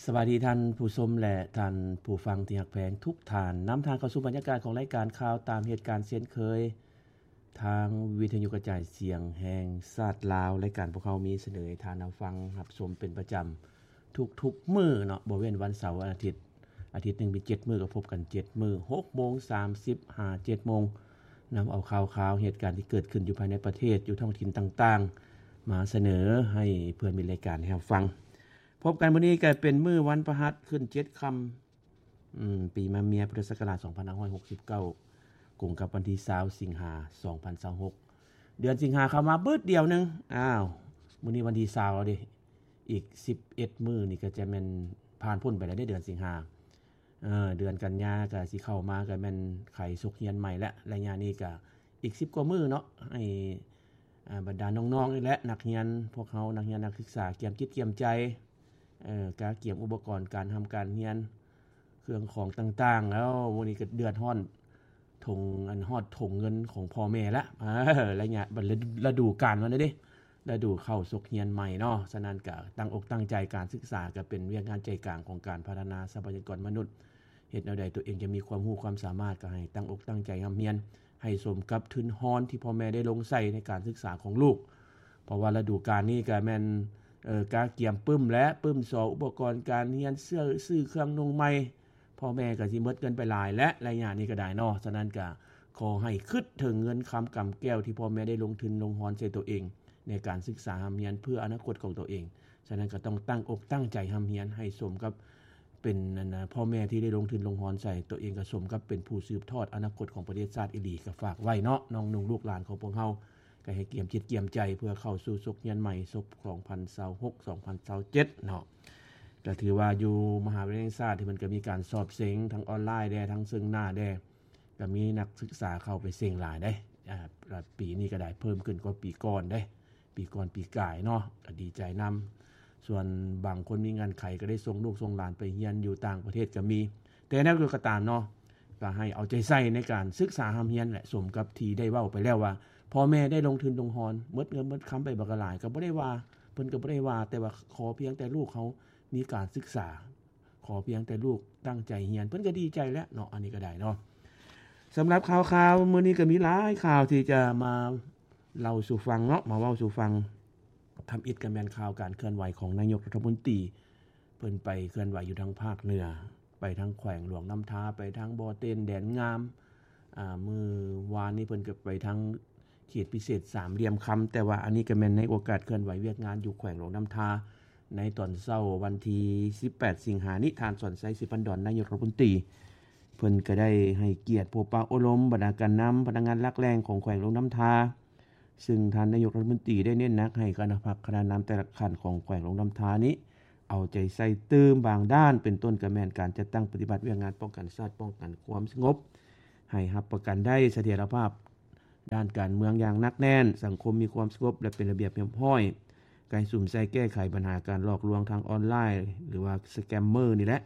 ສະບາຍດີທ່ານຜູ້ຊົມ ແລະ ທ່ານຜູ້ຟັງທີ່ຮັກແພງທຸກທ່ານ. ນຳທ່ານເຂົ້າສູ່ບັນຍາກາດຂອງລາຍການຂ່າວຕາມເຫດການເຊັ່ນເຄີຍ, ທາງວິທະຍຸກະຈາຍສຽງແຫ່ງຊາດລາວ, ລາຍການພວກເຮົາມີສະເໜີໃຫ້ທ່ານຮັບຟັງຮັບຊົມເປັນປະຈຳທຸກໆມື້ເນາະ, ບໍ່ເວັ້ນວັນເສົາວັນອາທິດ. ອາທິດໜຶ່ງມີເຈັດມື້ ກໍພົບກັນເຈັດມື້, ຫົກໂມງສາມສິບຫາເຈັດໂມງ, ນຳເອົາຂ່າວຄາວເຫດການທີ່ເກີດຂຶ້ນຢູ່ພາຍໃນປະເທດ, ຢູ່ທ້ອງຖິ່ນຕ່າງໆ ມາສະເໜີໃຫ້ເພື່ອນມິດລາຍການໄດ້ຮັບຟັງ. ພົບກັນມື້ນີ້ກໍເປັນມື້ວັນພະຫັດຂຶ້ນເຈັດຄ່ຳ ອືມ ປີມະເມຍ ພຸດທະສັກກະລາດສອງພັນຫ້າຮ້ອຍຫົກສິບເກົ້າ ກົງກັບວັນທີຊາວ ສິງຫາ ສອງພັນຊາວຫົກ. ເດືອນສິງຫາເຂົ້າມາບຶດດຽວໜຶ່ງ, ອ້າວ ມື້ນີ້ວັນທີຊາວແລ້ວເດ້, ອີກສິບເອັດມື້ນີ້ກໍຈະແມ່ນຜ່ານພົ້ນໄປແລ້ວເດ້ເດືອນສິງຫາ. ເອີ ເດືອນກັນຍາກໍຊິເຂົ້າມາ ກໍແມ່ນໄຂສົກຮຽນໃໝ່ແລ້ວ. ໄລຍະນີ້ກໍອີກສິບກວ່າມື້ເນາະ ໃຫ້ ອ່າ ບັນດານ້ອງໆນີ້ແຫຼະ ນັກຮຽນ ພວກເຮົານັກຮຽນນັກສຶກສາກຽມຈິດກຽມໃຈ, ເອີ ກະກຽມອຸປະກອນການຮ່ຳການຮຽນ ເຄື່ອງຂອງຕ່າງໆ ແລ້ວມື້ນີ້ກໍເດືອດຮ້ອນ ຖົງ ອັນ ຮອດຖົງເງິນຂອງພໍ່ແມ່ລະ. ເອີ ໄລຍະ ລະດູການມັນເດ້ ລະດູເຂົ້າສົກຮຽນໃໝ່ເນາະ. ສະນັ້ນກະຕັ້ງອົກຕັ້ງໃຈ, ການສຶກສາກະເປັນວຽກງານໃຈກາງຂອງການພັດທະນາຊັບພະຍາກອນມະນຸດ. ເຮັດແນວໃດຕົວເອງຈະມີຄວາມຮູ້ຄວາມສາມາດ ກໍໃຫ້ຕັ້ງອົກຕັ້ງໃຈຮ່ຳຮຽນ ໃຫ້ສົມກັບທຶນຮອນທີ່ພໍ່ແມ່ໄດ້ລົງໃສ່ໃນການສຶກສາຂອງລູກ. ເພາະວ່າລະດູການນີ້ກໍແມ່ນ ເອີ ກະກຽມປຶ້ມແຫຼະ, ປຶ້ມສໍ ອຸປະກອນການຮຽນ, ຊື້ ຊື້ເຄື່ອງນຸ່ງໃໝ່, ພໍ່ແມ່ກໍຊິໝົດເງິນໄປຫຼາຍແຫຼະ ໄລຍະນີ້ກໍໄດ້ເນາະ. ສະນັ້ນກໍຂໍໃຫ້ຄິດເຖິງເງິນຄຳກຳແກ້ວທີ່ພໍ່ແມ່ໄດ້ລົງທຶນລົງຮອນໃສ່ຕົວເອງ ໃນການສຶກສາຮ່ຳຮຽນເພື່ອອະນາຄົດຂອງຕົວເອງ. ສະນັ້ນກໍຕ້ອງຕັ້ງອົກຕັ້ງໃຈຮ່ຳຮຽນໃຫ້ສົມກັບເປັນ ອັນນະ ພໍ່ແມ່ທີ່ໄດ້ລົງທຶນລົງຮອນໃສ່ຕົວເອງ, ກໍສົມກັບເປັນຜູ້ສືບທອດອະນາຄົດຂອງປະເທດຊາດອີ່ຫຼີ. ກໍຝາກໄວ້ເນາະ ນ້ອງນຸ່ງລູກຫຼານຂອງພວກເຮົາ ກໍໃຫ້ກຽມຈິດກຽມໃຈເພື່ອເຂົ້າສູ່ສົກຮຽນໃໝ່ ສົກສອງພັນຊາວຫົກ ສອງພັນຊາວເຈັດເນາະ. ກໍຖືວ່າຢູ່ມະຫາວິທະຍາໄລແຫ່ງຊາດທີ່ມັນກໍມີການສອບເສັງທັງອອນລາຍແດ່ ທັງເຊິ່ງໜ້າແດ່, ກໍມີນັກສຶກສາເຂົ້າໄປເສັງຫຼາຍເດ້. ອາ ແລະ ປີນີ້ກໍໄດ້ເພີ່ມຂຶ້ນກວ່າປີກ່ອນເດ້, ປີກ່ອນປີກາຍເນາະ, ກໍດີໃຈນຳ. ສ່ວນບາງຄົນມີເງື່ອນໄຂກໍໄດ້ສົ່ງລູກສົ່ງຫຼານໄປຮຽນຢູ່ຕ່າງປະເທດກໍມີ. ແຕ່ແນວໃດກໍຕາມເນາະ, ກໍໃຫ້ເອົາໃຈໃສ່ໃນການສຶກສາຮ່ຳຮຽນແຫຼະ, ສົມກັບທີ່ໄດ້ເວົ້າໄປແລ້ວວ່າ ພໍ່ແມ່ໄດ້ລົງທຶນລົງຮອນ, ໝົດເງິນໝົດຄຳໄປບັກຫຼາຍ, ກໍບໍ່ໄດ້ວ່າ, ເພິ່ນກໍບໍ່ໄດ້ວ່າ, ແຕ່ວ່າຂໍພຽງແຕ່ລູກເຮົາມີການສຶກສາ, ຂໍພຽງແຕ່ລູກຕັ້ງໃຈຮຽນ ເພິ່ນກໍດີໃຈແລ້ວເນາະ. ອັນນີ້ກໍໄດ້ເນາະ. ສຳລັບຂ່າວໆມື້ນີ້ກໍມີຫຼາຍຂ່າວທີ່ຈະມາເລົ່າສູ່ຟັງເນາະ, ມາເວົ້າສູ່ຟັງ. ທຳອິດກໍແມ່ນຂ່າວການເຄື່ອນໄຫວຂອງນາຍົກລັດຖະມົນຕີ, ເພິ່ນໄປເຄື່ອນໄຫວຢູ່ທາງພາກເໜືອ, ໄປທາງແຂວງຫຼວງນ້ຳທາ, ໄປທາງບໍ່ເຕັນ, ແດນງາມ. ອາ ມື້ວານນີ້ເພິ່ນກໍໄປທາງ ເຂດພິເສດສາມຫຼ່ຽມຄຳ, ແຕ່ວ່າອັນນີ້ກໍແມ່ນໃນໂອກາດເຄື່ອນໄຫວວຽກງານຢູ່ແຂວງຫຼວງນ້ຳທາ ໃນຕອນເຊົ້າວັນທີສິບແປດສິງຫານີ້, ທ່ານ ສອນໄຊ ສີພັນດອນ ນາຍົກລັດຖະມົນຕີ ເພິ່ນກໍໄດ້ໃຫ້ກຽດພົບປະໂອ້ລົມບັນດາການນຳພະນັກງານຫຼັກແຫຼ່ງຂອງແຂວງຫຼວງນ້ຳທາ, ຊຶ່ງທ່ານນາຍົກລັດຖະມົນຕີໄດ້ເນັ້ນໜັກໃຫ້ຄະນະພັກຄະນະນຳແຕ່ລະຂັ້ນຂອງແຂວງຫຼວງນ້ຳທານີ້ ເອົາໃຈໃສ່ຕື່ມບາງດ້ານ, ເປັນຕົ້ນກໍແມ່ນການຈັດຕັ້ງປະຕິບັດວຽກງານປ້ອງກັນຊາດ, ປ້ອງກັນຄວາມສະຫງົບ, ໃຫ້ຮັບປະກັນໄດ້ສະຖຽນລະພາບ ດ້ານການເມືອງຢ່າງໜັກແໜ້ນ, ສັງຄົມມີຄວາມສະຫງົບ ແລະ ເປັນລະບຽບຮຽບຮ້ອຍ, ໃຫ້ສຸມໃສ່ແກ້ໄຂບັນຫາການຫຼອກລວງທາງອອນລາຍ ຫຼືວ່າສະແກມເມີນີ້ແຫຼະ,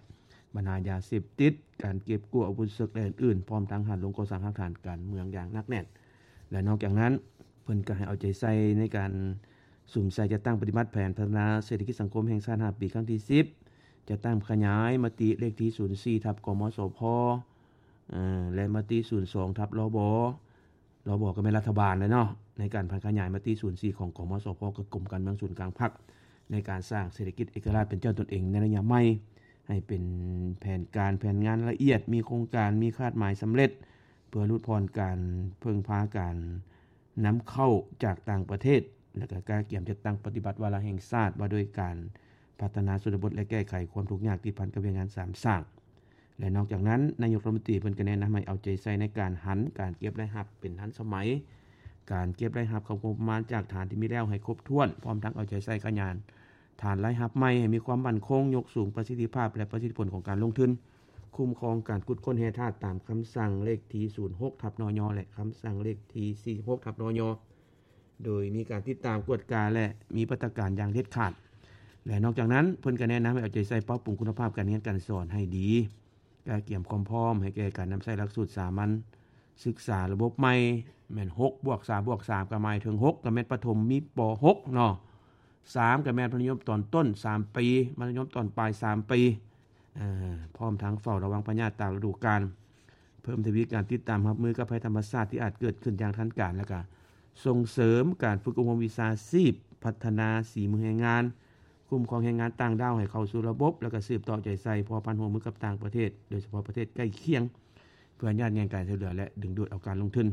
ບັນຫາຢາເສບຕິດ, ການເກັບກູ້ອາວຸດເສິກ ແລະ ອື່ນໆ, ພ້ອມທັງຫັນລົງກໍ່ສ້າງຮາກຖານການເມືອງຢ່າງໜັກແໜ້ນ. ແລະ ນອກຈາກນັ້ນ, ເພິ່ນກໍໃຫ້ເອົາໃຈໃສ່ໃນການສຸມໃສ່ຈັດຕັ້ງປະຕິບັດແຜນພັດທະນາເສດຖະກິດສັງຄົມແຫ່ງຊາດຫ້າປີ ຄັ້ງທີສິບ, ຈັດຕັ້ງຂະຫຍາຍມະຕິເລກທີສູນສີ່ ທັບ ກມສພ ເອີ ແລະ ມະຕິສູນສອງ ທັບ ລບ ລບ ກໍແມ່ນລັດຖະບານແຫຼະເນາະ, ໃນການຜັນຂະຫຍາຍມະຕິສູນສີ່ຂອງ ກມສພ ຄືກົມການເມືອງສູນກາງພັກ ໃນການສ້າງເສດຖະກິດເອກະລາດເປັນເຈົ້າຕົນເອງໃນໄລຍະໃໝ່ ໃຫ້ເປັນແຜນການແຜນງານລະອຽດ, ມີໂຄງການ, ມີຄາດໝາຍສຳເລັດ, ເພື່ອຫຼຸດຜ່ອນການເພິ່ງພາການນຳເຂົ້າຈາກຕ່າງປະເທດ, ແລະ ກໍກະກຽມຈັດຕັ້ງປະຕິບັດວາລະແຫ່ງຊາດວ່າດ້ວຍການພັດທະນາຊົນນະບົດ ແລະ ແກ້ໄຂຄວາມທຸກຍາກ ຕິດພັນກັບວຽກງານສາມສ້າງ. ແລະ ນອກຈາກນັ້ນ, ນາຍົກລັດຖະມົນຕີເພິ່ນກໍແນະນຳໃຫ້ເອົາໃຈໃສ່ໃນການຫັນການເກັບລາຍຮັບເປັນທັນສະໄໝ, ການເກັບລາຍຮັບເຂົ້າງົບປະມານຈາກຖານທີ່ມີແລ້ວໃຫ້ຄົບຖ້ວນ, ພ້ອມທັງເອົາໃຈໃສ່ຂະຫຍາຍຖານລາຍຮັບໃໝ່ໃຫ້ມີຄວາມໝັ້ນຄົງ, ຍົກສູງປະສິດທິພາບ ແລະ ປະສິດທິຜົນຂອງການລົງທຶນ, ຄຸ້ມຄອງການຂຸດຄົ້ນແຮ່ທາດຕາມຄຳສັ່ງເລກທີສູນຫົກ ທັບ ນຍ ແລະ ຄຳສັ່ງເລກທີສີ່ສິບຫົກ ທັບ ນຍ ໂດຍມີການຕິດຕາມກວດກາ ແລະ ມີມາດຕະການຢ່າງເດັດຂາດ. ແລະ ນອກຈາກນັ້ນ, ເພິ່ນກໍແນະນຳໃຫ້ເອົາໃຈໃສ່ປັບປຸງຄຸນນະພາບການຮຽນການສອນໃຫ້ດີ, ກະກຽມຄວາມພ້ອມໃຫ້ແກ່ການນຳໃຊ້ຫຼັກສູດສາມັນສຶກສາລະບົບໃໝ່, ແມ່ນ ຫົກບວກສາມບວກສາມ ກໍໝາຍເຖິງ ຫົກ ກໍແມ່ນປະຖົມ ມີ ປ ຫົກ ເນາະ, ສາມ ກໍແມ່ນມັດທະຍົມຕອນຕົ້ນສາມປີ, ມັດທະຍົມຕອນປາຍສາມປີ, ເອີ ພ້ອມທັງເຝົ້າລະວັງພະຍາດຕາມລະດູການ, ເພີ່ມທະວີການຕິດຕາມຮັບມືກັບໄພທຳມະຊາດທີ່ອາດເກີດຂຶ້ນຢ່າງທັນການ, ແລ້ວກໍສົ່ງເສີມການຝຶກອົບຮົມວິຊາຊີບ, ພັດທະນາສີມືແຮງງານ, ຄຸ້ມຄອງແຮງງານຕ່າງດ້າວໃຫ້ເຂົ້າສູ່ລະບົບ, ແລ້ວກໍສືບຕໍ່ເອົາໃຈໃສ່ພົວພັນຮ່ວມມືກັບຕ່າງປະເທດ, ໂດຍສະເພາະປະເທດໃກ້ຄຽງ, ເພື່ອຍາດແຍ່ງການຊ່ວຍເຫຼືອ ແລະ ດຶງດູດເອົາການລົງທຶນ.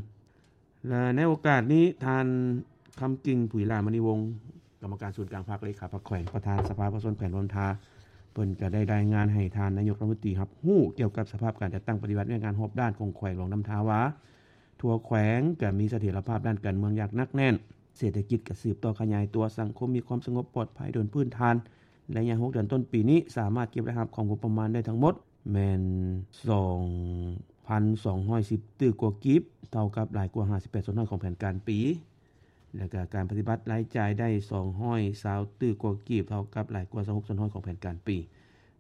ແລະ ໃນໂອກາດນີ້ ທ່ານ ຄຳກິ່ງ ຜຸຍຫຼ້າມະນີວົງ ກຳມະການສູນກາງພັກ, ເລຂາພັກແຂວງ, ປະທານສະພາປະຊາຊົນແຂວງຫຼວງນ້ຳທາ ເພິ່ນກໍໄດ້ລາຍງານໃຫ້ທ່ານນາຍົກລັດຖະມົນຕີຮັບຮູ້ກ່ຽວກັບສະພາບການຈັດຕັ້ງປະຕິບັດວຽກງານຮອບດ້ານຂອງແຂວງຫຼວງນ້ຳທາວ່າ ທົ່ວແຂວງກໍມີສະຖຽນລະພາບດ້ານການເມືອງຢ່າງໜັກແໜ້ນ, ເສດຖະກິດກໍສືບຕໍ່ຂະຫຍາຍຕົວ, ສັງຄົມມີຄວາມສະຫງົບປອດໄພໂດຍພື້ນຖານ. ໄລຍະຫົກເດືອນຕົ້ນປີນີ້ ສາມາດເກັບລາຍຮັບຂອງງົບປະມານໄດ້ທັງໝົດ ແມ່ນສອງພັນສອງຮ້ອຍສິບຕື້ກວ່າກີບ, ເທົ່າກັບຫຼາຍກວ່າຫ້າສິບແປດສ່ວນຮ້ອຍຂອງແຜນການປີ, ແລ້ວກະການປະຕິບັດລາຍຈ່າຍໄດ້ສອງຮ້ອຍຊາວຕື້ກວ່າກີບ, ເທົ່າກັບຫຼາຍກວ່າຊາວຫົກສ່ວນຮ້ອຍຂອງແຜນການປີ.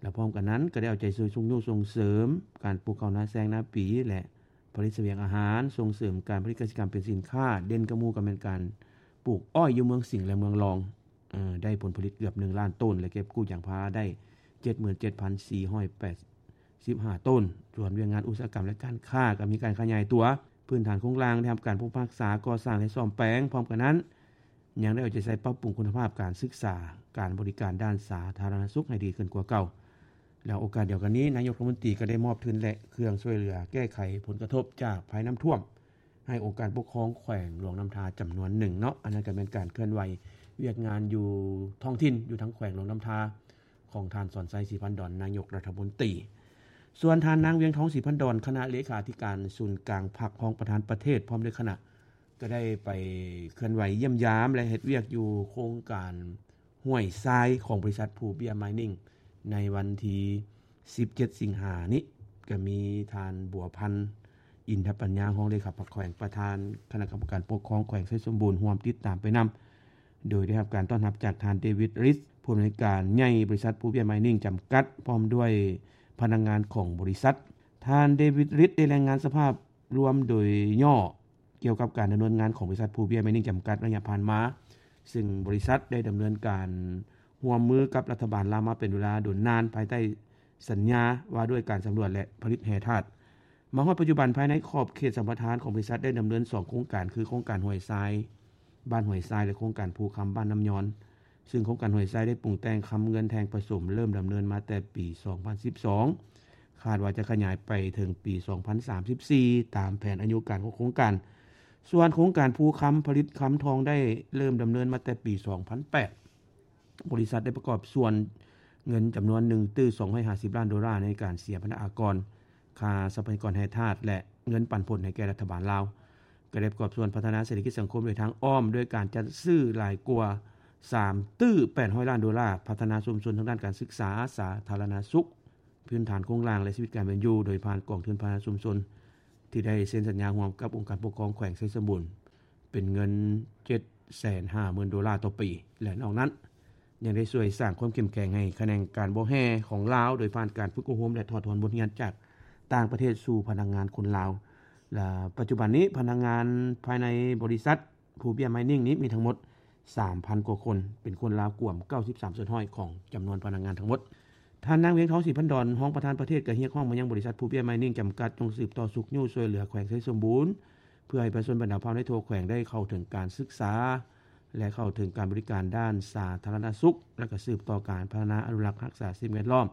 ແລະ ພ້ອມກັນນັ້ນກໍໄດ້ເອົາໃຈຊ່ວຍຊຸກຍູ້ສົ່ງເສີມການປູກເຂົ້ານາແຊງນາປີ ແລະ ຜະລິດສະບຽງອາຫານ, ສົ່ງເສີມການຜະລິດກະສິກຳເປັນສິນຄ້າ, ເດັ່ນກວ່າໝູ່ກໍແມ່ນການປູກອ້ອຍຢູ່ເມືອງສິງ ແລະ ເມືອງລອງ, ເອີ ໄດ້ຜົນຜະລິດເກືອບໜຶ່ງລ້ານໂຕນ ແລະ ເກັບກູ້ຢາງພາລາໄດ້ເຈັດໝື່ນເຈັດພັນສີ່ຮ້ອຍແປດສິບຫ້າໂຕນ. ສ່ວນວຽກງານອຸດສາຫະກຳ ແລະ ການຄ້າກໍມີການຂະຫຍາຍຕົວ, ພື້ນຖານໂຄງລ່າງໄດ້ຮັບການປຸກຮັກສາ, ກໍ່ສ້າງ ແລະ ສ້ອມແປງ. ພ້ອມກັນນັ້ນ ຍັງໄດ້ເອົາໃຈໃສ່ປັບປຸງຄຸນນະພາບການສຶກສາ, ການບໍລິການດ້ານສາທາລະນະສຸກໃຫ້ດີຂຶ້ນກວ່າເກົ່າ. ແລະ ໂອກາດດຽວກັນນີ້ ນາຍົກລັດຖະມົນຕີກໍໄດ້ມອບທຶນ ແລະ ເຄື່ອງຊ່ວຍເຫຼືອແກ້ໄຂຜົນກະທົບຈາກໄພນ້ຳຖ້ວມ ໃຫ້ອົງການປົກຄອງແຂວງຫຼວງນ້ຳທາຈຳນວນໜຶ່ງເນາະ. ອັນນັ້ນກໍແມ່ນການເຄື່ອນໄຫວວຽກງານຢູ່ທ້ອງຖິ່ນ ຢູ່ທາງແຂວງຫຼວງນ້ຳທາ ຂອງທ່ານ ສອນໄຊ ສີພັນດອນ ນາຍົກລັດຖະມົນຕີ. ສ່ວນທ່ານນາງ ວຽງທອງ ສີພັນດອນ ຄະນະເລຂາທິການສູນກາງພັກ, ຮອງປະທານປະເທດ ພ້ອມດ້ວຍຄະນະ ກໍໄດ້ໄປເຄື່ອນໄຫວຢ້ຽມຢາມ ແລະ ເຮັດວຽກຢູ່ໂຄງການຫ້ວຍຊາຍຂອງບໍລິສັດພູເບ້ຍມາຍນິງ ໃນວັນທີສິບເຈັດສິງຫານີ້. ກໍມີທ່ານ ບົວພັນ ອິນທະປັນຍາ ຮອງເລຂາພັກແຂວງ, ປະທານຄະນະກຳມະການປົກຄອງແຂວງໄຊສົມບູນ ຮ່ວມຕິດຕາມໄປນຳ, ໂດຍໄດ້ຮັບການຕ້ອນຮັບຈາກທ່ານ ເດວິດ ຣິດ ຜູ້ອຳນວຍການໃຫຍ່ບໍລິສັດພູເບ້ຍມາຍນິງຈຳກັດ ພ້ອມດ້ວຍພະນັກງານຂອງບໍລິສັດ. ທ່ານ ເດວິດ ຣິດ ໄດ້ລາຍງານສະພາບລວມໂດຍຫຍໍ້ ກ່ຽວກັບການດຳເນີນງານຂອງບໍລິສັດພູເບ້ຍມາຍນິງຈຳກັດໄລຍະຜ່ານມາ, ຊຶ່ງບໍລິສັດໄດ້ດຳເນີນການຮ່ວມມືກັບລັດຖະບານລາວມາເປັນເວລາດົນນານ ພາຍໃຕ້ສັນຍາວ່າດ້ວຍການສຳຫຼວດ ແລະ ຜະລິດແຮ່ທາດ. ມາຮອດປັດຈຸບັນ, ພາຍໃນຂອບເຂດສຳປະທານຂອງບໍລິສັດໄດ້ດຳເນີນສອງໂຄງການ ຄື ໂຄງການຫ້ວຍຊາຍ ບ້ານຫ້ວຍຊາຍ ແລະ ໂຄງການພູຄຳ ບ້ານນ້ຳຍອນ. ຊຶ່ງໂຄງການຫ້ວຍຊາຍໄດ້ປຸງແຕ່ງຄຳເງິນແທ່ງປະສົມ ເລີ່ມດຳເນີນມາແຕ່ປີສອງພັນສິບສອງ, ຄາດວ່າຈະຂະຫຍາຍໄປເຖິງປີສອງພັນສາມສິບສີ່ ຕາມແຜນອາຍຸການຂອງໂຄງການ. ສ່ວນໂຄງການພູຄຳ ຜະລິດຄຳທອງ ໄດ້ເລີ່ມດຳເນີນມາແຕ່ປີສອງພັນແປດ. ບໍລິສັດໄດ້ປະກອບສ່ວນເງິນຈຳນວນໜຶ່ງຕື້ສອງຮ້ອຍຫ້າສິບລ້ານໂດລາ ໃນການເສຍພັນທະອາກອນ, ຄ່າຊັບພະຍາກອນແຮ່ທາດ ແລະ ເງິນປັນຜົນໃຫ້ແກ່ລັດຖະບານລາວ. ກໍໄດ້ປະກອບສ່ວນພັດທະນາເສດຖະກິດສັງຄົມໂດຍທາງອ້ອມ ດ້ວຍການຈັດຊື້ຫຼາຍກວ່າສາມຕື້ແປດຮ້ອຍລ້ານໂດລາ, ພັດທະນາຊຸມຊົນທາງດ້ານການສຶກສາ, ສາທາລະນະສຸກ, ພື້ນຖານໂຄງລ່າງ ແລະ ຊີວິດການເປັນຢູ່ ໂດຍຜ່ານກອງທຶນພັດທະນາຊຸມຊົນ ທີ່ໄດ້ເຊັນສັນຍາຮ່ວມກັບອົງການປົກຄອງແຂວງໄຊສົມບູນ ເປັນເງິນເຈັດແສນຫ້າໝື່ນໂດລາຕໍ່ປີ ແລະ ນອກນັ້ນ ຍັງໄດ້ຊ່ວຍສ້າງຄວາມເຂັ້ມແຂງໃຫ້ຂະແໜງການບໍ່ແຮ່ຂອງລາວ ໂດຍຜ່ານການຝຶກອົບຮົມ ແລະ ຖອດຖອນບົດຮຽນຈາກຕ່າງປະເທດສູ່ພະນັກງານຄົນລາວ. ແລະ ປັດຈຸບັນນີ້ ພະນັກງານພາຍໃນບໍລິສັດພູເບ້ຍມາຍນິງນີ້ມີທັງໝົດສາມພັນກວ່າຄົນ, ເປັນຄົນລາວກວມເກົ້າສິບສາມສ່ວນຮ້ອຍຂອງຈຳນວນພະນັກງານທັງໝົດ. ທ່ານນາງ ວຽງທອງ ສີພັນດອນ ຮອງປະທານປະເທດ ກໍຮຽກຮ້ອງມາຍັງບໍລິສັດພູເບ້ຍມາຍນິງຈຳກັດ ຈົ່ງສືບຕໍ່ຊຸກຍູ້ຊ່ວຍເຫຼືອແຂວງໄຊສົມບູນ ເພື່ອໃຫ້ປະຊາຊົນບັນດາເຜົ່າໃນທົ່ວແຂວງໄດ້ເຂົ້າເຖິງການສຶກສາ ແລະ ເຂົ້າເຖິງການບໍລິການດ້ານສາທາລະນະສຸກ ແລະ ກໍສືບຕໍ່ການພັດທະນາອະນຸລັກຮັກສາສິ່ງແວດລ້ອມ,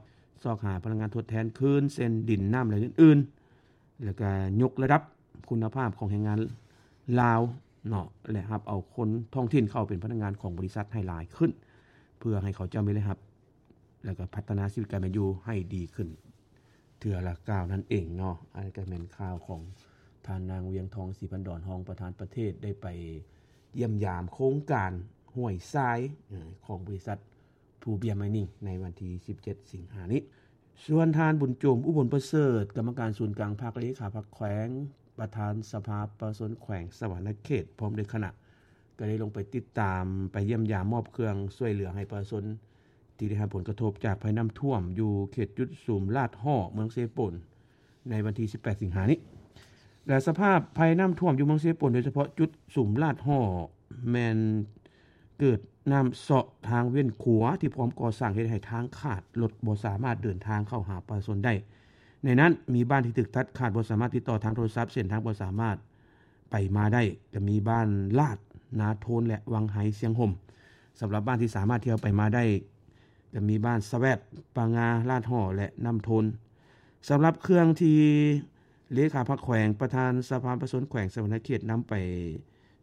ຊອກຫາພະລັງງານທົດແທນຄືນ ເຊັ່ນ ດິນ, ນ້ຳ ແລະ ອື່ນໆ, ແລະ ກໍຍົກລະດັບຄຸນນະພາບຂອງແຮງງານລາວເນາະ ແລະ ຮັບເອົາຄົນທ້ອງຖິ່ນເຂົ້າເປັນພະນັກງານຂອງບໍລິສັດໃຫ້ຫຼາຍຂຶ້ນ ເພື່ອໃຫ້ເຂົາເຈົ້າມີລາຍຮັບ ແລະ ກໍພັດທະນາຊີວິດການເປັນຢູ່ໃຫ້ດີຂຶ້ນເທື່ອລະກ້າວນັ້ນເອງເນາະ. ອັນນີ້ກໍແມ່ນຂ່າວຂອງທ່ານນາງ ວຽງທອງ ສີພັນດອນ ຮອງປະທານປະເທດ ໄດ້ໄປຢ້ຽມຢາມໂຄງການຫ້ວຍຊາຍ ເອີ ຂອງບໍລິສັດພູເບ້ຍມາຍນິງ ໃນວັນທີສິບເຈັດສິງຫານີ້. ສ່ວນທ່ານ ບຸນໂຈມ ອຸບົນປະເສີດ ກຳມະການສູນກາງພັກ, ເລຂາພັກແຂວງ, ປະທານສະພາປະຊາຊົນແຂວງສະຫວັນນະເຂດ ພ້ອມດ້ວຍຄະນະ ກໍໄດ້ລົງໄປຕິດຕາມ, ໄປຢ້ຽມຢາມ, ມອບເຄື່ອງຊ່ວຍເຫຼືອໃຫ້ປະຊາຊົນ ທີ່ໄດ້ຮັບຜົນກະທົບຈາກໄພນ້ຳຖ້ວມຢູ່ເຂດຈຸດສຸມລາດຫໍ້ ເມືອງເຊໂປນ ໃນວັນທີສິບແປດສິງຫານີ້. ແລະ ສະພາບໄພນ້ຳຖ້ວມຢູ່ເມືອງເຊໂປນ ໂດຍສະເພາະຈຸດສຸມລາດຫໍ້ ແມ່ນເກ ເກີດນ້ຳເຊາະທາງເວັ້ນຂົວທີ່ພ້ອມກໍ່ສ້າງ ເຮັດໃຫ້ທາງຂາດ, ລົດບໍ່ສາມາດເດີນທາງເຂົ້າຫາປະຊາຊົນໄດ້. ໃນນັ້ນມີບ້ານທີ່ຖືກຕັດຂາດ, ບໍ່ສາມາດຕິດຕໍ່ທາງໂທລະສັບ, ເສັ້ນທາງບໍ່ສາມາດໄປມາໄດ້, ຈະມີບ້ານລາດ, ນາໂທນ ແລະ ວັງໄຮ, ຊຽງຫົ່ມ. ສຳລັບບ້ານທີ່ສາມາດທ່ຽວໄປມາໄດ້, ຈະມີບ້ານສະແວັດ, ປາງາ, ລາດຫໍ່ ແລະ ນ້ຳໂທນ. ສຳລັບເຄື່ອງທີ່ເລຂາພັກແຂວງ, ປະທານສະພາປະຊາຊົນແຂວງສະຫວັນນະເຂດ ນຳໄປ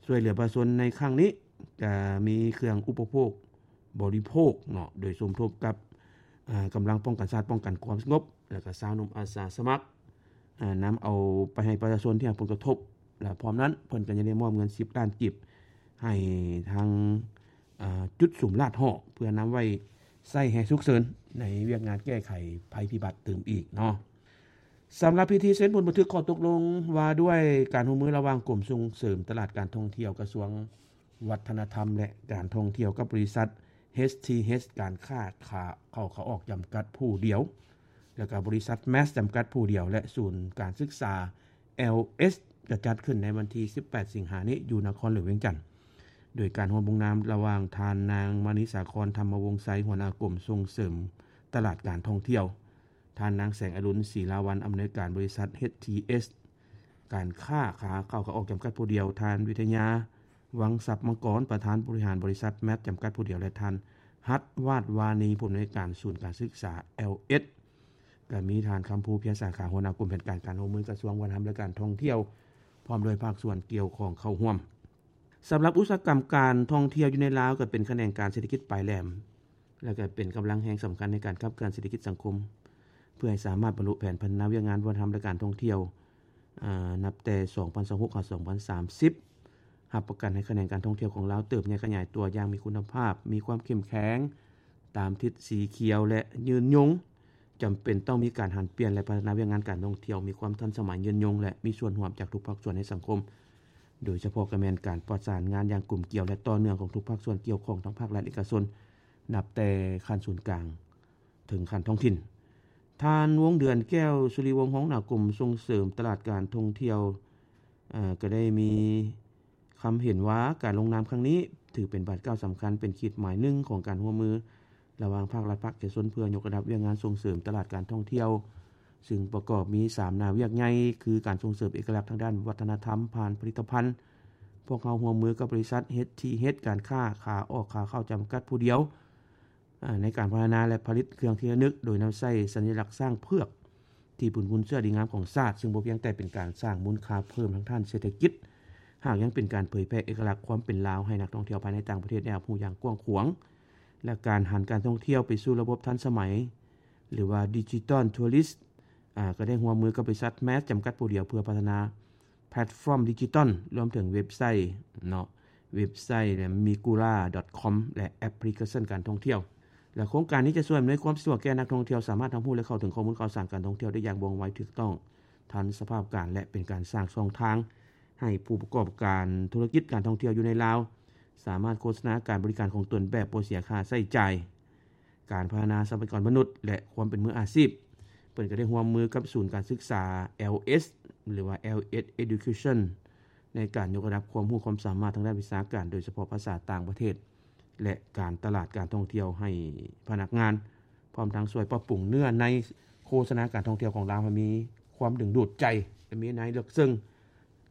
ຊ່ວຍເຫຼືອປະຊາຊົນໃນຄັ້ງນີ້, ກະມີເຄື່ອງອຸປະໂພກບໍລິໂພກເນາະ, ໂດຍສົມທົບກັບ ອາ ກຳລັງປ້ອງກັນຊາດ, ປ້ອງກັນຄວາມສະຫງົບ ແລະ ກະຊາວໜຸ່ມອາສາສະໝັກ, ອາ ນຳເອົາໄປໃຫ້ປະຊາຊົນທີ່ຮັບຜົນກະທົບ ແລະ ພ້ອມນັ້ນເພິ່ນກໍຍັງໄດ້ມອບເງິນສິບລ້ານກີບໃຫ້ທາງ ອາ ຈຸດສຸມລາດຫໍ່ ເພື່ອນຳໄວ້ໃຊ້ແຮງສຸກເສີນໃນວຽກງານແກ້ໄຂໄພພິບັດຕື່ມອີກເນາະ. ສຳລັບພິທີເຊັນບົດບັນທຶກຂໍ້ຕົກລົງວ່າດ້ວຍການຮ່ວມມືລະຫວ່າງກົມສົ່ງເສີມຕະຫຼາດການທ່ອງທ່ຽວ ກະຊວງວັດທະນະທຳ ແລະ ການທ່ອງທ່ຽວ ກັບບໍລິສັດ ເອສ ທີ ເອສ ການຄ້າຂາເຂົ້າຂາອອກຈຳກັດຜູ້ດຽວ ແລະ ກະບໍລິສັດ ແມັດ ຈຳກັດຜູ້ດຽວ ແລະ ສູນການສຶກສາ ແອລ ເອສ ຈະຈັດຂຶ້ນໃນວັນທີສິບແປດ ສິງຫານີ້ ຢູ່ນະຄອນຫຼວງວຽງຈັນ ໂດຍການຮ່ວມລົງນາມລະຫວ່າງທ່ານນາງ ມະນີສາຄອນ ທຳມະວົງໄຊ ຫົວໜ້າກົມສົ່ງເສີມຕະຫຼາດການທ່ອງທ່ຽວ, ທ່ານນາງ ແສງອະລຸນ ສີລາວັນ ອຳນວຍການບໍລິສັດ ເອສ ທີ ເອສ ການຄ້າຂາເຂົ້າຂາອອກຈຳກັດຜູ້ດຽວ, ທ່ານ ວິທະຍາ ວັງຊັບມັງກອນ ປະທານບໍລິຫານບໍລິສັດ ແມັດ ຈຳກັດຜູ້ດຽວ ແລະ ທ່ານ ຮັດ ວາດວານີ ຜູ້ອຳນວຍການສູນການສຶກສາ ແອລ ເອສ ກໍມີທ່ານ ຄຳພູ ພຽງສາຂາ ຫົວໜ້າກົມແຜນການການຮ່ວມມືກະຊວງວັດທະນະທຳ ແລະ ການທ່ອງທ່ຽວ ພ້ອມດ້ວຍພາກສ່ວນກ່ຽວຂ້ອງເຂົ້າຮ່ວມ. ສຳລັບອຸດສາຫະກຳການທ່ອງທ່ຽວຢູ່ໃນລາວ ກໍເປັນຂະແໜງການເສດຖະກິດປາຍແຫຼມ ແລະ ກໍເປັນກຳລັງແຮງສຳຄັນໃນການຂັບເຄື່ອນເສດຖະກິດສັງຄົມ ເພື່ອໃຫ້ສາມາດບັນລຸແຜນພັດທະນາວຽກງານວັດທະນະທຳ ແລະ ການທ່ອງທ່ຽວ ອາ ນັບແຕ່ ສອງພັນຊາວຫົກ ຫາ ສອງພັນສາມສິບ ຮັບປະກັນໃຫ້ຂະແໜງການທ່ອງທ່ຽວຂອງລາວເຕີບໃຫຍ່ຂະຫຍາຍຕົວຢ່າງມີຄຸນນະພາບ, ມີຄວາມເຂັ້ມແຂງຕາມທິດສີຂຽວ ແລະ ຍືນຍົງ. ຈຳເປັນຕ້ອງມີການຫັນປ່ຽນ ແລະ ພັດທະນາວຽກງານການທ່ອງທ່ຽວ ມີຄວາມທັນສະໄໝ, ຍືນຍົງ ແລະ ມີສ່ວນຮ່ວມຈາກທຸກພາກສ່ວນໃນສັງຄົມ, ໂດຍສະເພາະກໍແມ່ນການປະສານງານຢ່າງກົມກຽວ ແລະ ຕໍ່ເນື່ອງຂອງທຸກພາກສ່ວນກ່ຽວຂ້ອງ ທັງພາກລັດ, ເອກະຊົນ ນັບແຕ່ຂັ້ນສູນກາງ ເຖິງຂັ້ນທ້ອງຖິ່ນ. ທ່ານ ວົງເດືອນ ແກ້ວສຸລິວົງ ຮອງຫົວໜ້າກົມສົ່ງເສີມຕະຫຼາດການທ່ອງທ່ຽວ ເອີ ກໍໄດ້ມີຄຳເຫັນວ່າ ການລົງນາມຄັ້ງນີ້ຖືເປັນບາດກ້າວສຳຄັນ, ເປັນຂີດໝາຍໜຶ່ງຂອງການຮ່ວມມືລະຫວ່າງພາກລັດ, ພາກເອກະຊົນ ເພື່ອຍົກລະດັບວຽກງານສົ່ງເສີມຕະຫຼາດການທ່ອງທ່ຽວ, ຊຶ່ງປະກອບມີສາມແນວວຽກໃຫຍ່ ຄື ການສົ່ງເສີມເອກະລັກທາງດ້ານວັດທະນະທຳຜ່ານຜະລິດຕະພັນ. ພວກເຮົາຮ່ວມມືກັບບໍລິສັດ ເອສ ທີ ເອສ ການຄ້າຂາອອກຂາເຂົ້າຈຳກັດຜູ້ດຽວ ອາ ໃນການພັດທະນາ ແລະ ຜະລິດເຄື່ອງທີ່ລະນຶກ ໂດຍນຳໃຊ້ສັນຍາລັກຊ້າງເຜືອກ ທີ່ເປັນມູນເຊື້ອດີງາມຂອງຊາດ, ຊຶ່ງບໍ່ພຽງແຕ່ເປັນການສ້າງມູນຄ່າເພີ່ມທາງດ້ານເສດຖະກິດ, ຫາກຍັງເປັນການເຜີຍແຜ່ເອກະລັກຄວາມເປັນລາວໃຫ້ນັກທ່ອງທ່ຽວພາຍໃນຕ່າງປະເທດໄດ້ຮັບຮູ້ຢ່າງກວ້າງຂວາງ ແລະ ການຫັນການທ່ອງທ່ຽວໄປສູ່ລະບົບທັນສະໄໝ ຫຼືວ່າ ດິຈິຕອນ ທົວຣິສ ອາ ກໍໄດ້ຮ່ວມມືກັບບໍລິສັດ ແມັດ ຈຳກັດຜູ້ດຽວ ເພື່ອພັດທະນາ ແພລດຟອມດິຈິຕອນ ລວມເຖິງເວັບໄຊເນາະ, ເວັບໄຊ ແລະ ມີກູລາ ດອດຄອມ ແລະ ແອັບພລິເຄຊັນການທ່ອງທ່ຽວ ແລະ ໂຄງການນີ້ຈະຊ່ວຍອຳນວຍຄວາມສະດວກແກ່ນັກທ່ອງທ່ຽວ ສາມາດຮັບຮູ້ ແລະ ເຂົ້າເຖິງຂໍ້ມູນຂ່າວສານການທ່ອງທ່ຽວໄດ້ຢ່າງວ່ອງໄວ, ຖືກຕ້ອງ, ທັນສະພາບການ ແລະ ເປັນການສ້າງຊ່ອງທາງໃຫ້ຜູ້ປະກອບການທຸລະກິດການທ່ອງທ່ຽວຢູ່ໃນລາວ ສາມາດໂຄສະນາການບໍລິການຂອງຕົນແບບບໍ່ເສຍຄ່າໃຊ້ຈ່າຍ. ການພັດທະນາຊັບພະຍາກອນມະນຸດ ແລະ ຄວາມເປັນມືອາຊີບ. ເພິ່ນກໍໄດ້ຮ່ວມມືກັບສູນການສຶກສາ ແອລ ເອສ ຫຼືວ່າ ແອລ ເອສ Education ໃນການຍົກລະດັບຄວາມຮູ້ຄວາມສາມາດທາງດ້ານວິຊາການ, ໂດຍສະເພາະພາສາຕ່າງປະເທດ ແລະ ການຕະຫຼາດການທ່ອງທ່ຽວໃຫ້ພະນັກງານ, ພ້ອມທັງຊ່ວຍປັບປຸງເນື້ອໃນໂຄສະນາການທ່ອງທ່ຽວຂອງລາວໃຫ້ມີຄວາມດຶງດູດໃຈ ແລະ ມີໃນເລິກເຊິ່ງ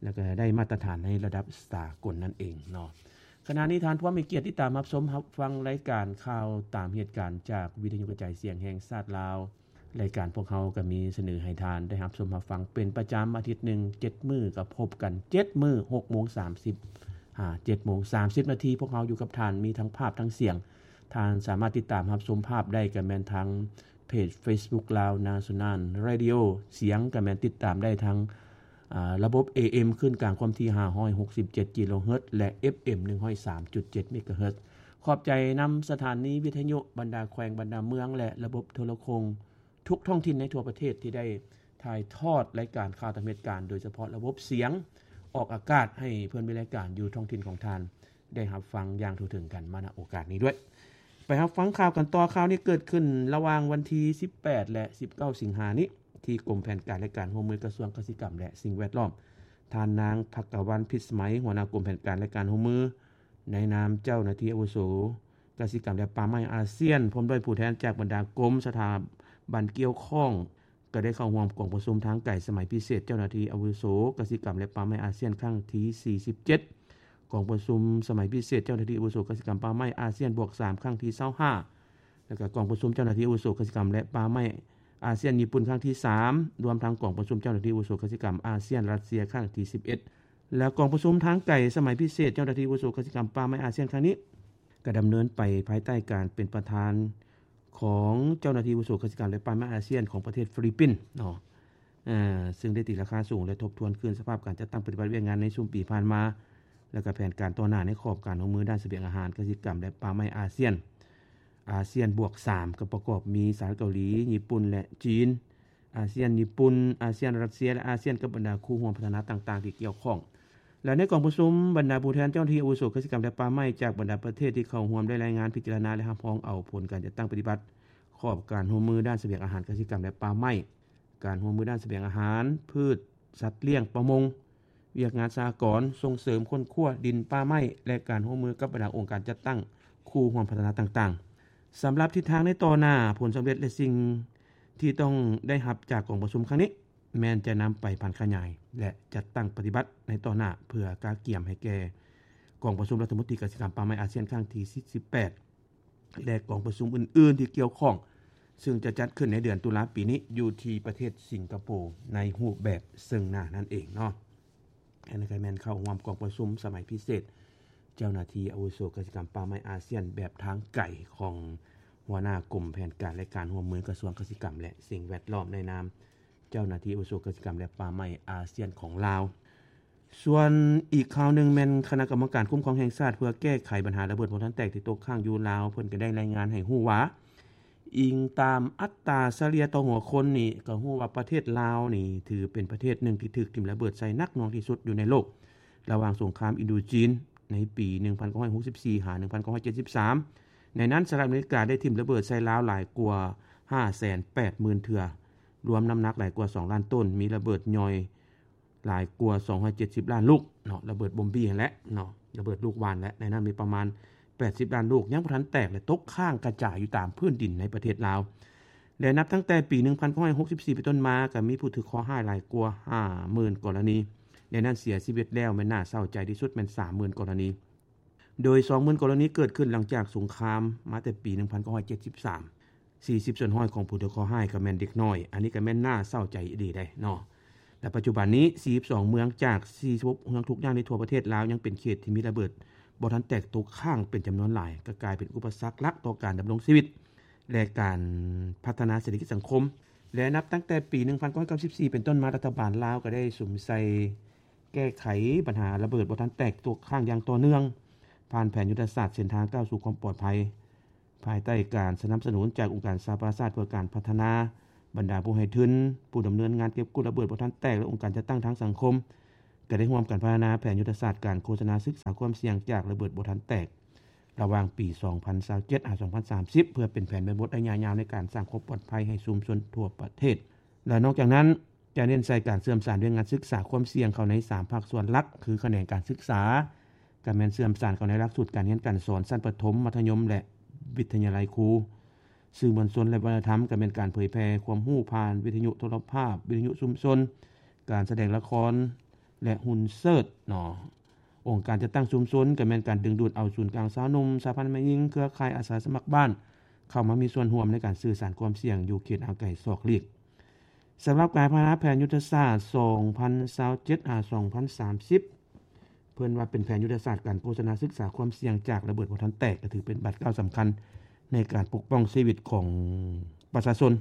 ແລ້ວກໍໄດ້ມາດຕະຖານໃນລະດັບສາກົນນັ້ນເອງເນາະ. ຂະນະນີ້ທ່ານຜູ້ມີກຽດຕິດຕາມຮັບຊົມຮັບຟັງລາຍການຂ່າວຕາມເຫດການຈາກວິທະຍຸກະຈາຍສຽງແຫ່ງຊາດລາວ. ລາຍການພວກເຮົາກໍມີສະເໜີໃຫ້ທ່ານໄດ້ຮັບຊົມຮັບຟັງເປັນປະຈຳອາທິດໜຶ່ງເຈັດມື້, ກໍພົບກັນເຈັດມື້ ຫົກໂມງສາມສິບຫາເຈັດໂມງສາມສິບນາທີ. ພວກເຮົາຢູ່ກັບທ່ານ ມີທັງພາບທັງສຽງ. ທ່ານສາມາດຕິດຕາມຮັບຊົມພາບໄດ້ກໍແມ່ນທາງ ເພຈເຟສບຸກ Lao National Radio ສຽງກໍແມ່ນຕິດຕາມໄດ້ທາງ ອາ ລະບົບ ເອເອັມ ຄື້ນກາງຄວາມຖີ່ ຫ້າຮ້ອຍຫົກສິບເຈັດ ກິໂລເຮີດ ແລະ ເອັຟເອັມ ໜຶ່ງຮ້ອຍສາມຈຸດເຈັດ ເມກາເຮີດ. ຂອບໃຈນຳສະຖານີວິທະຍຸບັນດາແຂວງ, ບັນດາເມືອງ ແລະ ລະບົບໂທລະຄົງທຸກທ້ອງຖິ່ນໃນທົ່ວປະເທດທີ່ໄດ້ຖ່າຍທອດລາຍການຂ່າວຕາມເຫດການ, ໂດຍສະເພາະລະບົບສຽງອອກອາກາດໃຫ້ເພື່ອນເວລາການຢູ່ທ້ອງຖິ່ນຂອງທ່ານ ໄດ້ຮັບຟັງຢ່າງທົ່ວເຖິງກັນມາ ນະ ໂອກາດນີ້ດ້ວຍ. ໄປຮັບຟັງຂ່າວກັນຕໍ່. ຂ່າວນີ້ເກີດຂຶ້ນລະຫວ່າງວັນທີສິບແປດ ແລະ ສິບເກົ້າ ສິງຫານີ້ ທີ່ກົມແຜນການ ແລະ ການຮ່ວມມື ກະຊວງກະສິກຳ ແລະ ສິ່ງແວດລ້ອມ. ທ່ານນາງ ພັກກະວັນ ພິດສະໄໝ ຫົວໜ້າກົມແຜນການ ແລະ ການຮ່ວມມື ໃນນາມເຈົ້າໜ້າທີ່ອາວຸໂສກະສິກຳ ແລະ ປ່າໄມ້ອາຊຽນ ພ້ອມດ້ວຍຜູ້ແທນຈາກບັນດາກົມ, ສະຖາບັນກ່ຽວຂ້ອງ ກໍໄດ້ເຂົ້າຮ່ວມກອງປະຊຸມທາງໄກສະໄໝພິເສດເຈົ້າໜ້າທີ່ອາວຸໂສກະສິກຳ ແລະ ປ່າໄມ້ອາຊຽນ ຄັ້ງທີສີ່ສິບເຈັດ, ກອງປະຊຸມສະໄໝພິເສດເຈົ້າໜ້າທີ່ອາວຸໂສກະສິກຳ ປ່າໄມ້ອາຊຽນ ບວກສາມ ຄັ້ງທີຊາວຫ້າ ແລະ ກະກອງປະຊຸມເຈົ້າໜ້າທີ່ອາວຸໂສກະສິກຳ ແລະ ປ່າໄມ້ອາຊຽນ ຍີ່ປຸ່ນ ຄັ້ງທີສາມ, ລວມທັງກອງປະຊຸມເຈົ້າໜ້າທີ່ອາວຸໂສກະສິກຳອາຊຽນ ຣັດເຊຍ ຄັ້ງທີສິບເອັດ ແລະ ກອງປະຊຸມທາງໄກສະໄໝພິເສດເຈົ້າໜ້າທີ່ອາວຸໂສກະສິກຳ ປ່າໄມ້ອາຊຽນ ຄັ້ງນີ້ ກໍດຳເນີນໄປພາຍໃຕ້ການເປັນປະທານຂອງເຈົ້າໜ້າທີ່ອາວຸໂສກະສິກຳ ແລະ ປ່າໄມ້ອາຊຽນຂອງປະເທດຟີລິບປິນເນາະ ເຊິ່ງໄດ້ຕີລາຄາສູງ ແລະ ທົບທວນຄືນສະພາບການຈັດຕັ້ງປະຕິບັດວຽກງານໃນຊຸມປີຜ່ານມາ ແລະ ກະແຜນການຕໍ່ໜ້າໃນຂອບການຮ່ວມມືດ້ານສະບຽງອາຫານ, ກະສິກຳ ແລະ ປ່າໄມ້ອາຊຽນ ອາຊຽນບວກສາມ ກໍປະກອບມີສະຫະລັດເກົາຫຼີ, ຍີ່ປຸ່ນ ແລະ ຈີນ, ອາຊຽນ, ຍີ່ປຸ່ນ, ອາຊຽນ, ຣັດເຊຍ ແລະ ອາຊຽນ ກັບບັນດາຄູ່ຮ່ວມພັດທະນາຕ່າງໆທີ່ກ່ຽວຂ້ອງ. ແລະ ໃນກອງປະຊຸມ, ບັນດາຜູ້ແທນເຈົ້າໜ້າທີ່ອາວຸໂສກະສິກຳ ແລະ ປ່າໄມ້ ຈາກບັນດາປະເທດທີ່ເຂົ້າຮ່ວມ ໄດ້ລາຍງານ, ພິຈາລະນາ ແລະ ຮັບຮອງເອົາຜົນການຈັດຕັ້ງປະຕິບັດຂອບການຮ່ວມມືດ້ານສະບຽງອາຫານ, ກະສິກຳ ແລະ ປ່າໄມ້, ການຮ່ວມມືດ້ານສະບຽງອາຫານ, ພືດ, ສັດລ້ຽງ, ປະມົງ, ວຽກງານສະຫະກອນ, ສົ່ງເສີມຄົ້ນຄວ້າດິນປ່າໄມ້ ແລະ ການຮ່ວມມືກັບບັນດາອົງການຈັດຕັ້ງຄູ່ຮ່ວມພັດທະນາຕ່າງໆ. ສຳລັບທິດທາງໃນຕໍ່ໜ້າ, ຜົນສຳເລັດ ແລະ ສິ່ງທີ່ຕ້ອງໄດ້ຮັບຈາກກອງປະຊຸມຄັ້ງນີ້ ແມ່ນຈະນຳໄປຜັນຂະຫຍາຍ ແລະ ຈັດຕັ້ງປະຕິບັດໃນຕໍ່ໜ້າ ເພື່ອກະກຽມໃຫ້ແກ່ກອງປະຊຸມລັດຖະມົນຕີກະສິກຳ ປ່າໄມ້ອາຊຽນ ຄັ້ງທີສີ່ສິບແປດ ແລະ ກອງປະຊຸມອື່ນໆທີ່ກ່ຽວຂ້ອງ ເຊິ່ງຈະຈັດຂຶ້ນໃນເດືອນຕຸລາປີນີ້ ຢູ່ທີ່ປະເທດສິງກະໂປ ໃນຮູບແບບເຊິ່ງໜ້ານັ້ນເອງເນາະ. ອັນນີ້ກໍແມ່ນເຂົ້າຮ່ວມກອງປະຊຸມສະໄໝພິເສດເຈົ້າໜ້າທີ່ອາວຸໂສກະສິກຳ ປ່າໄມ້ອາຊຽນ ແບບທາງໄກຂອງຫົວໜ້າກົມແຜນການ ແລະ ການຮ່ວມມື ກະຊວງກະສິກຳ ແລະ ສິ່ງແວດລ້ອມ ໃນນາມເຈົ້າໜ້າທີ່ອາວຸໂສກະສິກຳ ແລະ ປ່າໄມ້ອາຊຽນຂອງລາວ. ສ່ວນອີກຂ່າວໜຶ່ງແມ່ນຄະນະກຳມະການຄຸ້ມຄອງແຫ່ງຊາດເພື່ອແກ້ໄຂບັນຫາລະເບີດບໍ່ທັນແຕກທີ່ຕົກຄ້າງຢູ່ລາວ ເພິ່ນກໍໄດ້ລາຍງານໃຫ້ຮູ້ວ່າ ອີງຕາມອັດຕາສະເລ່ຍຕໍ່ຫົວຄົນນີ້ ກໍຮູ້ວ່າປະເທດລາວນີ້ຖືເປັນປະເທດໜຶ່ງທີ່ຖືກຖິ້ມລະເບີດໃສ່ໜັກໜ່ວງທີ່ສຸດຢູ່ໃນໂລກ ລະຫວ່າງສົງຄາມອິນໂດຈີນໃນປີໜຶ່ງພັນເກົ້າຮ້ອຍຫົກສິບສີ່ຫາໜຶ່ງພັນເກົ້າຮ້ອຍເຈັດສິບສາມ. ໃນນັ້ນ ສະຫະລັດອາເມລິກາໄດ້ຖິ້ມລະເບີດໃສ່ລາວຫຼາຍກວ່າຫ້າແສນແປດໝື່ນເທື່ອ, ລວມນ້ຳໜັກຫຼາຍກວ່າສອງລ້ານໂຕນ, ມີລະເບີດຍ່ອຍ ຫຼາຍກວ່າສອງຮ້ອຍເຈັດສິບລ້ານລູກເນາະ, ລະເບີດບົມບີຫັ້ນແຫຼະເນາະ, ລະເບີດລູກຫວ່ານແຫຼະ. ໃນນັ້ນມີປະມານແປດສິບລ້ານລູກຍັງບໍ່ທັນແຕກ ແລະ ຕົກຄ້າງກະຈາຍຢູ່ຕາມພື້ນດິນໃນປະເທດລາວ ແລະ ນັບຕັ້ງແຕ່ປີໜຶ່ງພັນເກົ້າຮ້ອຍຫົກສິບສີ່ເປັນຕົ້ນມາ ກໍມີຜູ້ຖືກເຄາະຮ້າຍຫຼາຍກວ່າຫ້າໝື່ນກໍລະນີ, ໃນນັ້ນເສຍຊີວິດແລ້ວແມ່ນໜ້າເສົ້າໃຈທີ່ສຸດແມ່ນສາມໝື່ນກໍລະນີ. ໂດຍສອງໝື່ນກໍລະນີເກີດຂຶ້ນຫຼັງຈາກສົງຄາມມາແຕ່ປີໜຶ່ງພັນເກົ້າຮ້ອຍເຈັດສິບສາມ, ສີ່ສິບສ່ວນຮ້ອຍຂອງຜູ້ຖືກເຄາະຮ້າຍກໍແມ່ນເດັກນ້ອຍ. ອັນນີ້ກໍແມ່ນໜ້າເສົ້າໃຈອີ່ຫຼີເດ້ເນາະ. ແລະ ປັດຈຸບັນນີ້ ສີ່ສິບສອງເມືອງຈາກສີ່ສິບຫົກເມືອງທຸກຢ່າງໃນທົ່ວປະເທດລາວ ຍັງເປັນເຂດທີ່ມີລະເບີດບໍ່ທັນແຕກຕົກຄ້າງເປັນຈຳນວນຫຼາຍ, ກໍກາຍເປັນອຸປະສັກຫຼັກຕໍ່ການດຳລົງຊີວິດ ແລະ ການພັດທະນາເສດຖະກິດສັງຄົມ. ແລະ ນັບຕັ້ງແຕ່ປີໜຶ່ງພັນເກົ້າຮ້ອຍເກົ້າສິບສີ່ເປັນຕົ້ນມາ, ລັດຖະບານລາວກໍໄດ້ສຸມໃສ່ ແກ້ໄຂບັນຫາລະເບີດບໍ່ທັນແຕກຕົກຄ້າງຢ່າງຕໍ່ເນື່ອງ ຜ່ານແຜນຍຸດທະສາດເສັ້ນທາງກ້າວສູ່ຄວາມປອດໄພ ພາຍໃຕ້ການສະໜັບສະໜູນຈາກອົງການສະຫະປະຊາຊາດເພື່ອການພັດທະນາ. ບັນດາຜູ້ໃຫ້ທຶນ, ຜູ້ດຳເນີນງານເກັບກູ້ລະເບີດບໍ່ທັນແຕກ ແລະ ອົງການຈັດຕັ້ງທາງສັງຄົມ ກໍໄດ້ຮ່ວມກັນພັດທະນາແຜນຍຸດທະສາດການໂຄສະນາສຶກສາຄວາມສ່ຽງຈາກລະເບີດບໍ່ທັນແຕກ ລະຫວ່າງປີສອງພັນຊາວເຈັດຫາສອງພັນສາມສິບ ເພື່ອເປັນແຜນແມ່ບົດໄລຍະຍາວໃນການສ້າງຄວາມປອດໄພໃຫ້ຊຸມຊົນທົ່ວປະເທດ. ແລະ ນອກຈາກນັ້ນ ຈະເນັ້ນໃສ່ການເຊື່ອມສານວຽກງານສຶກສາຄວາມສ່ຽງເຂົ້າໃນສາມພາກສ່ວນຫຼັກ ຄືຂະແໜງການສຶກສາ, ກໍແມ່ນເຊື່ອມສານເຂົ້າໃນຫຼັກສູດການຮຽນການສອນຊັ້ນປະຖົມ, ມັດທະຍົມ ແລະ ວິທະຍາໄລຄູ, ສື່ມວນຊົນ ແລະ ວັດທະນະທຳ, ກໍແມ່ນການເຜີຍແຜ່ຄວາມຮູ້ຜ່ານວິທະຍຸໂທລະພາບ, ວິທະຍຸຊຸມຊົນ, ການສະແດງລະຄອນ ແລະ ຫຸ່ນເຊີດເນາະ. ອົງການຈັດຕັ້ງຊຸມຊົນ ກໍແມ່ນການດຶງດູດເອົາສູນກາງຊາວໜຸ່ມ, ສະຫະພັນແມ່ຍິງ, ເຄືອຂ່າຍອາສາສະໝັກບ້ານ ເຂົ້າມາມີສ່ວນຮ່ວມໃນການສື່ສານຄວາມສ່ຽງຢູ່ເຂດຫ່າງໄກສອກຫຼີກ. ສຳລັບການພັດທະນາແຜນຍຸດທະສາດສອງພັນຊາວເຈັດຫາສອງພັນສາມສິບ ເພິ່ນວ່າເປັນແຜນຍຸດທະສາດການໂຄສະນາສຶກສາຄວາມສ່ຽງຈາກລະເບີດບໍ່ທັນແຕກ ກໍຖືເປັນບາດກ້າວສຳຄັນໃນການປົກປ້ອງຊີວິດຂອງປະຊາຊົນ,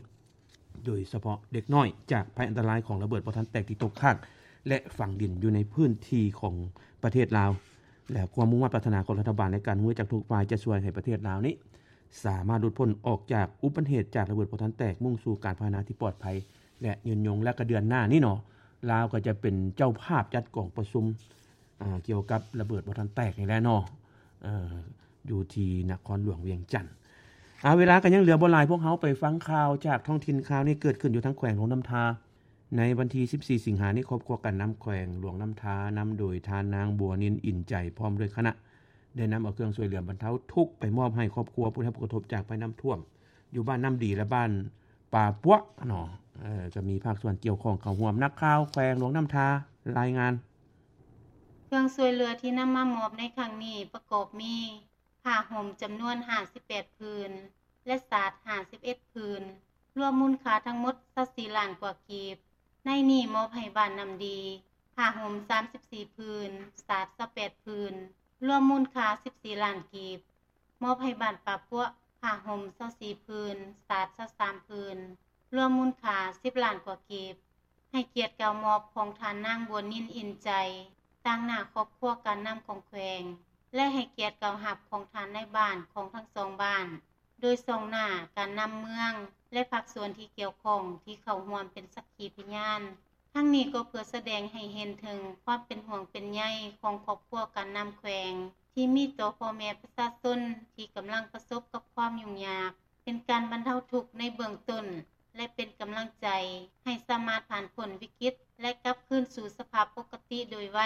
ໂດຍສະເພາະເດັກນ້ອຍ ຈາກໄພອັນຕະລາຍຂອງລະເບີດບໍ່ທັນແຕກທີ່ຕົກຄ້າງ ແລະ ຝັງດິນຢູ່ໃນພື້ນທີ່ຂອງປະເທດລາວ. ແລະ ຄວາມມຸ່ງໝັ້ນປາດຖະໜາຂອງລັດຖະບານ ແລະ ການຮ່ວມມືຈາກທຸກຝ່າຍ ຈະຊ່ວຍໃຫ້ປະເທດລາວນີ້ ສາມາດຫຼຸດພົ້ນອອກຈາກອຸບັດເຫດຈາກລະເບີດບໍ່ທັນແຕກ, ມຸ່ງສູ່ການພັດທະນາທີ່ປອດໄພ ແລະ ຍືນຍົງ. ແລະ ກະເດືອນໜ້ານີ້ເນາະ ລາວກໍຈະເປັນເຈົ້າພາບຈັດກອງປະຊຸມ ອ່າ ກ່ຽວກັບລະເບີດບໍ່ທັນແຕກນີ້ແຫຼະເນາະ ເອີ ຢູ່ທີ່ນະຄອນຫຼວງວຽງຈັນ. ອາ ເວລາກໍຍັງເຫຼືອບໍ່ຫຼາຍ, ພວກເຮົາໄປຟັງຂ່າວຈາກທ້ອງຖິ່ນ. ຂ່າວນີ້ເກີດຂຶ້ນຢູ່ທາງແຂວງຫຼວງນ້ຳທາ. ໃນວັນທີສິບສີ່ ສິງຫານີ້, ຄອບຄົວການນຳແຂວງຫຼວງນ້ຳທາ ນຳໂດຍທ່ານນາງ ບົວນິນ ອິນໃຈ ພ້ອມດ້ວຍຄະນະ ໄດ້ນຳເອົາເຄື່ອງຊ່ວຍເຫຼືອບັນເທົາທຸກໄປມອບໃຫ້ຄອບຄົວຜູ້ໄດ້ຮັບຜົນກະທົບຈາກໄພນ້ຳຖ້ວມ ຢູ່ບ້ານນ້ຳດີ ແລະ ບ້ານປ່າປົວເນາະ. ເອີ ກໍມີພາກສ່ວນກ່ຽວຂ້ອງເຂົ້າຮ່ວມ. ນັກຂ່າວແຂວງຫຼວງນ້ຳທາລາຍງານ. ເຄື່ອງຊ່ວຍເຫຼືອທີ່ນຳມາມອບໃນຄັ້ງນີ້ປະກອບມີ ຜ້າຫົ່ມຈຳນວນຫ້າສິບແປດຜືນ ແລະ ສາດຫ້າສິບເອັດຜືນ, ລວມມູນຄ່າທັງໝົດຊາວສີ່ລ້ານກວ່າກີບ. ໃນນີ້ມອບໃຫ້ບ້ານນ້ຳດີ ຜ້າຫົ່ມສາມສິບສີ່ຜືນ, ສາດຊາວແປດຜືນ, ລວມມູນຄ່າສິບສີ່ລ້ານກີບ. ມອບໃຫ້ບ້ານປ່າປົວ ຜ້າຫົ່ມຊາວສີ່ຜືນ, ສາດຊາວສາມຜືນ, ລວມມູນຄ່າສິບລ້ານກວ່າກີບ. ໃຫ້ກຽດກ່າວມອບຂອງທ່ານນາງ ບົວນິນ ອິນໃຈ ຕາງໜ້າຄອບຄົວການນຳຂອງແຂວງ ແລະ ໃຫ້ກຽດກ່າວຮັບຂອງທ່ານນາຍບ້ານຂອງທັງສອງບ້ານ ໂດຍສ່ອງໜ້າການນຳເມືອງ ແລະ ພາກສ່ວນທີ່ກ່ຽວຂ້ອງທີ່ເຂົ້າຮ່ວມເປັນສັກຂີພະຍານ. ທັງນີ້ກໍເພື່ອສະແດງໃຫ້ເຫັນເຖິງຄວາມເປັນຫ່ວງເປັນໃຍຂອງຄອບຄົວການນຳແຂວງ ທີ່ມີຕໍ່ພໍ່ແມ່ປະຊາຊົນທີ່ກຳລັງປະສົບກັບຄວາມຫຍຸ້ງຍາກ, ເປັນການບັນເທົາທຸກໃນເບື້ອງຕົ້ນ ແລະ ເປັນກຳລັງໃຈໃຫ້ສາມາດຜ່ານພົ້ນວິກິດ ແລະ ກັບຄືນສູ່ສະພາບປົກກະຕິໂດຍໄວ.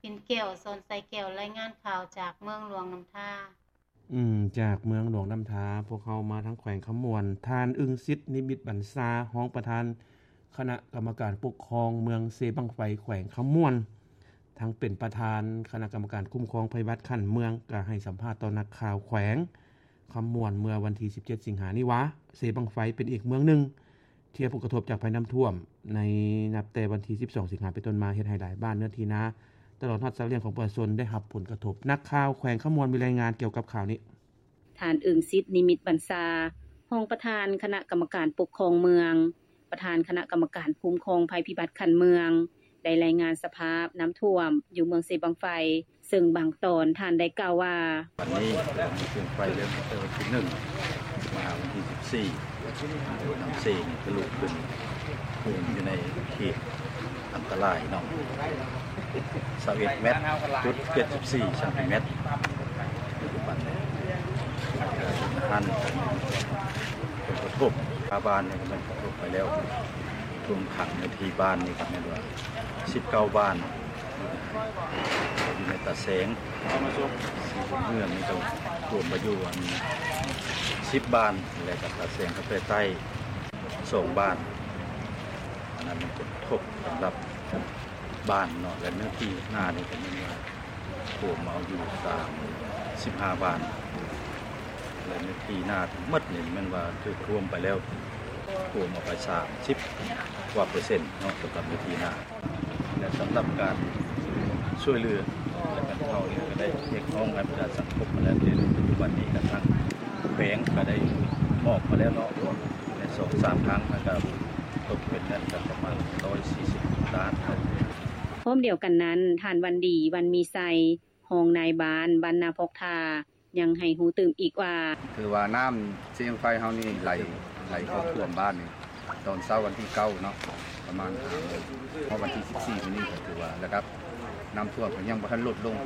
ປິນແກ້ວ ສອນໄຊແກ້ວ ລາຍງານຂ່າວຈາກເມືອງຫຼວງນ້ຳທາ. ອືມ ຈາກເມືອງຫຼວງນ້ຳທາ ພວກເຮົາມາທາງແຂວງຄຳມ່ວນ. ທ່ານ ອຶ່ງສິດ ນິມິດບັນຊາ ຮອງປະທານຄະນະກຳມະການປົກຄອງເມືອງເຊບັ້ງໄຟ ແຂວງຄຳມ່ວນ ທັງເປັນປະທານຄະນະກຳມະການຄຸ້ມຄອງໄພພິບັດຂັ້ນເມືອງ ກໍໃຫ້ສຳພາດຕໍ່ນັກຂ່າວແຂວງຄຳມ່ວນເມື່ອວັນທີສິບເຈັດ ສິງຫານີ້ວ່າ ເຊບັ້ງໄຟເປັນອີກເມືອງໜຶ່ງ ທີ່ໄດ້ຮັບຜົນກະທົບຈາກໄພນ້ຳຖ້ວມ ໃນນັບແຕ່ວັນທີສິບສອງ ສິງຫາເປັນຕົ້ນມາ ເຮັດໃຫ້ຫຼາຍບ້ານ ເນື້ອທີ່ນາ ຕະຫຼອດຮອດສັດລ້ຽງຂອງປະຊາຊົນໄດ້ຮັບຜົນກະທົບ. ນັກຂ່າວແຂວງຄຳມ່ວນມີລາຍງານກ່ຽວກັບຂ່າວນີ້. ທ່ານ ອຶ່ງສິດ ນິມິດບັນຊາ ຮອງປະທານຄະນະກຳມະການປົກຄອງເມືອງ, ປະທານຄະນະກຳມະການຄຸ້ມຄອງໄພພິບັດຂັ້ນເມືອງ ໄດ້ລາຍງານສະພາບນ້ຳຖ້ວມຢູ່ເມືອງເຊບັ້ງໄຟ ເຊິ່ງບາງຕອນທ່ານໄດ້ກ່າວວ່າ ວັນນີ້ເລື່ອງໄຟເລີ່ມຕັ້ງແຕ່ວັນທີໜຶ່ງ ມາຫາວັນທີສິບສີ່ ນ້ຳເຊນີ້ທະລຸຂຶ້ນ ຖ້ວມຢູ່ໃນເຂດອັນຕະລາຍເນາະ ຊາວເອັດແມັດຈຸດເຈັດສິບສີ່ຊັງຕີແມັດ ປັດຈຸບັນນີ້ ອັນຜົນກະທົບ ຫ້າບ້ານນີ້ກໍແມ່ນກະທົບໄປແລ້ວ ຖ້ວມຂັງໃນທີ່ບ້ານນີ້ກໍແມ່ນວ່າ ສິບເກົ້າບ້ານ ຢູ່ໃນຕາແສງ ສີບຸນເຮືອງນີ້ກໍຖ້ວມໄປຢູ່ອັນສິບບ້ານ ແລະ ກໍຕາແສງກໍໄປໃຕ້ສອງບ້ານ. ອັນນັ້ນມັນກະທົບສຳລັບບ້ານເນາະ ແລະ ເນື້ອທີ່ນານີ້ກໍແມ່ນວ່າ ຖ້ວມເອົາຢູ່ສາມສິບຫ້າບ້ານ ແລະ ເນື້ອທີ່ນາທັງໝົດນີ້ແມ່ນວ່າຖືກຖ້ວມໄປແລ້ວ ຖ້ວມເອົາໄປສາມສິບກວ່າເປີເຊັນເນາະ ສຳລັບເນື້ອທີ່ນາ ແລະ ສຳລັບການຊ່ວຍເຫຼືອ ແລະ ບັນເທົານີ້ກໍໄດ້ຮຽກຮ້ອງໃຫ້ບັນດາສັງຄົມມາແລ້ວ ແຕ່ປັດຈຸບັນນີ້ກະທາງແຂວງກໍໄດ້ມອບມາແລ້ວເນາະ ໃນສອງສາມຄັ້ງ ແລ້ວກໍຕົກເປັນເງິນກໍປະມານຮ້ອຍສີ່ສິບລ້ານ. ພ້ອມດຽວກັນນັ້ນ ທ່ານ ວັນດີ ວັນມີໄຊ ຮອງນາຍບ້ານບ້ານນາພອກທ່າ ຍັງໃຫ້ຮູ້ຕື່ມອີກວ່າ ຖືວ່ານ້ຳເຊບັ້ງໄຟເຮົານີ້ໄຫຼ ໄຫຼເຂົ້າຖ້ວມບ້ານນີ້ ຕອນເຊົ້າວັນທີເກົ້າເນາະ ປະມານຫ້າໂມງ ຮອດວັນທີສິບສີ່ມື້ນີ້ກໍຖືວ່າລະດັບນ້ຳຖ້ວມກໍຍັງບໍ່ທັນລົດລົງ